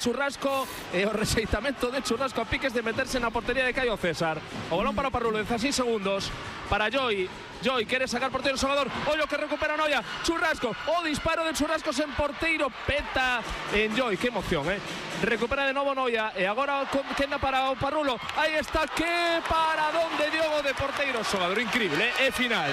Churrasco e o rexeitamento de Churrasco a piques de meterse na portería de Caio César. O balón para Parrulo, 16 segundos para Joy. Joy quere sacar porteiro o xogador. Ollo que recupera Noia. Churrasco, o disparo de Churrasco sen porteiro, peta en Joy. Que emoción, recupera de novo Noia e agora quenda para o Parrulo. Aí está, que paradón de Diogo de porteiro, xogador increíble, e final.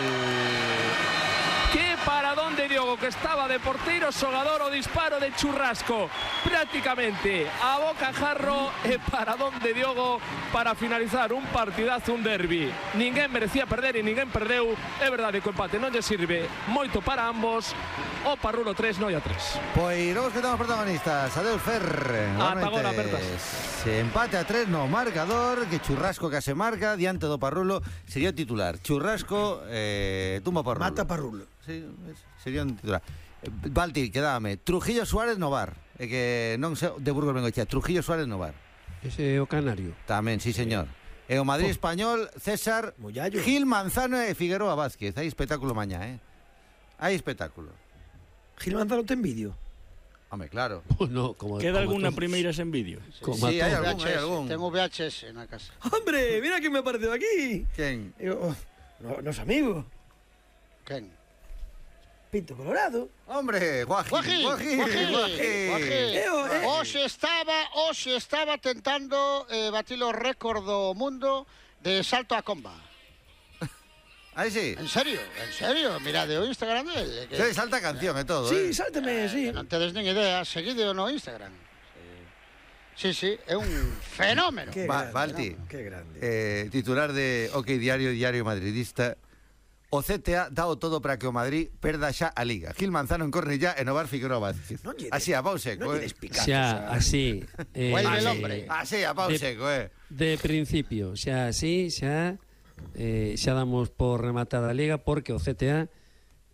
Que paradón de Diogo, que estaba de porteiro xogador, o disparo de Churrasco prácticamente a boca jarro, e paradón de Diogo para finalizar un partidazo, un derbi. Ninguén merecía perder e ninguén perdeu. É verdade que o empate non lle sirve moito para ambos. O Parrulo 3, Noia 3. Pois vamos que estamos protagonistas. Adeus, Fer. Ata agora, apertas. Se empate a 3 no marcador, que Churrasco que se marca diante do Parrulo sería o titular. Churrasco tumba Parrulo. Mata Parrulo. Sí, sería un titular. Balti, quedábame. Trujillo Suárez no VAR. Que non sei de Burgos Bengochea. Trujillo Suárez no VAR. Ese é o Canario. Tamén, sí, señor. E o Madrid Español, César, Mollallo. Gil Manzano e Figueroa Vázquez. Hai espectáculo mañá, Hai espectáculo. Gil Manzano ten vídeo. Home, claro. No, Queda alguna primeira sen vídeo? Sí, hai algún. Tengo VHS na casa. ¡Hombre! Mira que me apareceu aquí. Quen? Nos amigos. Quen? Pinto Colorado. Hombre, Guajín. Hoxe estaba tentando batir o récord do mundo de salto a comba. Aí sí. En serio, mirade o Instagram dele. Sí, salta canción e todo. Sí, sálteme, sí. Non tedes nin idea, seguide no Instagram. Sí, é un fenómeno. Balti, qué grande. Titular de OK Diario Madridista. O CTA dao todo para que o Madrid perda xa a Liga. Gil Manzano en Cornellá e Novar Figueroa Vázquez. Así, a pau seco, Xa, así. Vuelve el hombre. Así, a pau seco, De principio, xa así, xa damos por rematada a Liga porque o CTA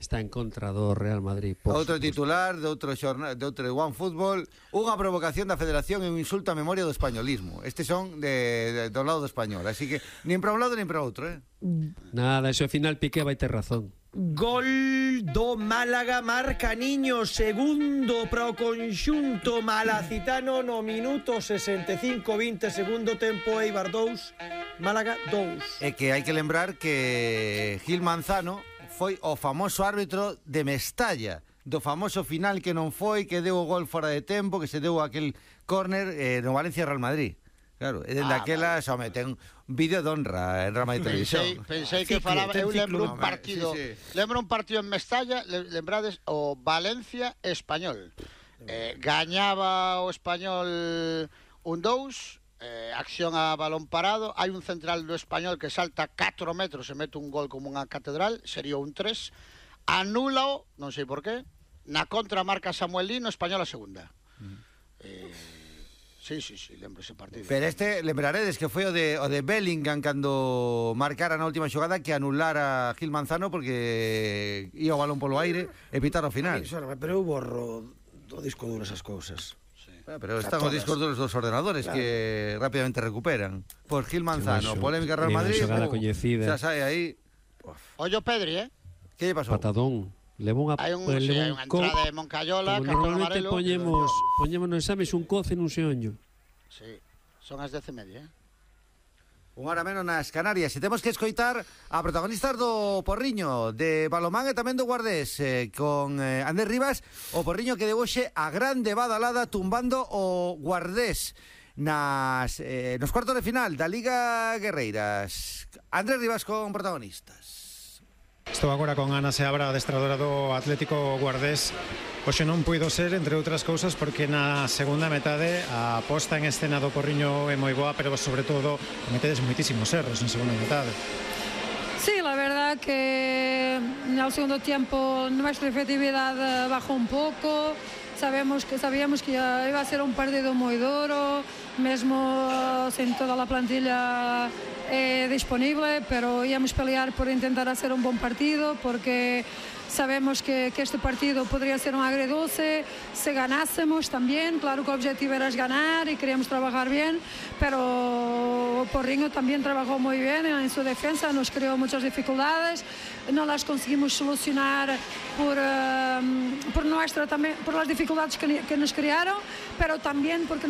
está en contra do Real Madrid. Outro titular de outro One Fútbol, unha provocación da Federación e un insulto á memoria do españolismo. Estes son do lado do español, así que nin para un lado nin para outro, Nada, eso ao final Piqué vai ter razón. Gol do Málaga, marca Niño, segundo para o conxunto malacitano no minuto 65, 20 segundo tempo, Eibar 2, Málaga 2. É que hai que lembrar que Gil Manzano foi o famoso árbitro de Mestalla, do famoso final que non foi, que deu o gol fora de tempo, que se deu aquel córner no Valencia Real Madrid. Claro, e dende aquela xa me ten vídeo de honra en Rama de Televisión. Pensei que falaba, eu lembro un partido, lembro un partido en Mestalla, lembrades o Valencia Español. Gañaba o Español 1-2. Acción a balón parado, hai un central do Español que salta 4 metros e mete un gol como unha catedral, sería un 3, anúlao, non sei por qué, na contra marca Samuel Lino, Español a segunda. Sí, lembro ese partido. Pero lembraredes que foi o de Bellingham cando marcara na última xogada que anulara a Gil Manzano porque ia o balón polo aire e pitar ao final. Pero eu borro do disco duro esas cousas. Pero están os discos duros dos ordenadores, claro, que rápidamente recuperan. Por Gil Manzano, polémica Real Madrid, xa sai aí. Ollo Pedri, Que lle pasou? Patadón. Levou unha entrada de Moncayola, cartón amarelo. Normalmente poñemos nos exames un coce nun xeonllo. Sí, son as 10:30, Unha hora menos nas Canarias. E temos que escoitar a protagonistas do Porriño, de balomán e tamén do Guardés, con Andrés Rivas, o Porriño que deu hoxe a grande badalada tumbando o Guardés nos cuartos de final da Liga Guerreiras. Andrés Rivas con protagonistas. Estou agora con Ana Seabra, adestradora do Atlético Guardés. Hoxe non puido ser, entre outras cousas, porque na segunda metade a posta en escena do Porriño é moi boa, pero sobre todo metedes moitísimos erros en segunda metade. Sí, la verdad que en el segundo tiempo nuestra efectividad bajó un poco. Sabíamos que iba a ser un partido moi duro, mesmo sen toda a plantilla disponible, pero íamos pelear por intentar hacer un buen partido, porque sabemos que este partido podría ser un agridulce si ganásemos también. Claro que el objetivo era ganar y queríamos trabajar bien, pero Porriño también trabajó muy bien en su defensa, nos creó muchas dificultades, no las conseguimos solucionar por las dificultades que nos crearon, pero también porque